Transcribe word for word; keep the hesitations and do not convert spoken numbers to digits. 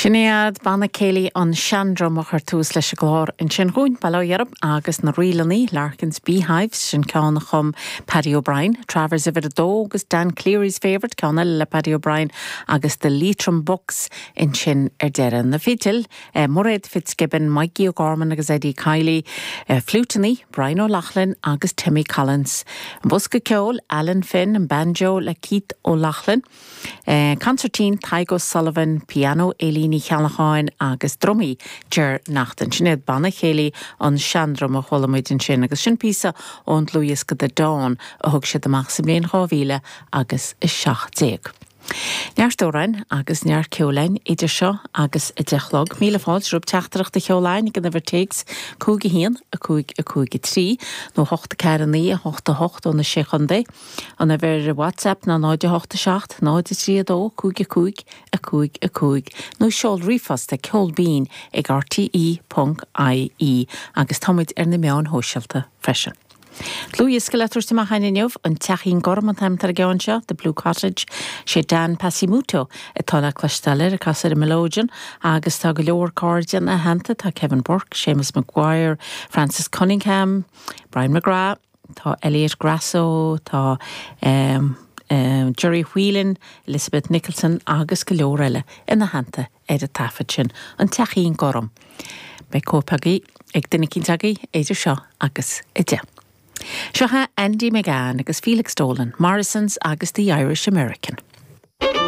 Sin iad Banna Céilí an Seandrum a chuir tús leis an gclár ansin dhúinn Bail ó Dhia oraibh agus na ríleanna Larkin's Beehives sin ceann a chum Paddy O'Brien, Travers uimhir a dó agus Dan Cleary's Favourite ceann eile le Paddy O'Brien agus the Leitrim Bucks ansin ar deireadh na fidil, eh, Mairéad Fitzgibbon, Mikey O'Gorman agus Eddie Kiley, eh, fliúiteanna, Brian O'Loughlin agus Timmy Collins. An bosca ceoil, Alan Finn an banjo le Keith O'Loughlin. Eh, concertina Tadhg O'Sullivan, piano Éilín Ní Cheallacháin agus drumaí Ger Naughton. Sin iad Banna Céilí an Seandrum a chuala muid ansin agus sin píosa ón dlúthdhiosca The Dawn a thug siad amach sa mbliain dhá mhíle agus a seacht déag. Neart amhrán agus neart ceoil againn idir seo agus a deich a chlog. Míle fáilte romhaibh teachtaireacht a sheoladh ag an uimhir téacs cúig a haon a cúig a cúig a trí nó hocht a ceathair a naoi a hocht a hocht ó na sé chontae. An uimhir WhatsApp ná náid a hocht a seacht náid a trí a dó cúig a cúig a cúig a cúig nó seol ríomhphost ag ceol binn ag RTE ponc IE agus táimid ar na meáin shóisialta freisin. Dlúthdhiosca le tabhairt amach againn inniu an Teachín Gorm an t-ainm atá ar an gceann seo, The Blue Cottage, sé Dan Pasimoto atá le cloisteáil air ag casadh ar an melodeon agus tá go leor cairde ina theannta tá Kevin Burke, Seamus Maguire, Francis Cunningham, Brian McGrath, tá Elliot Grasso, tá um, um, Jerry Whelan, Elizabeth Nicholson agus go leor eile ina theannta ar an taifead sin an Teachín Gorm. Beidh cóip agaibh ag duine eicínt agaibh idir seo agus a deich. Seo Andy McGann agus Felix Dolan, Morrison's agus the Irish American.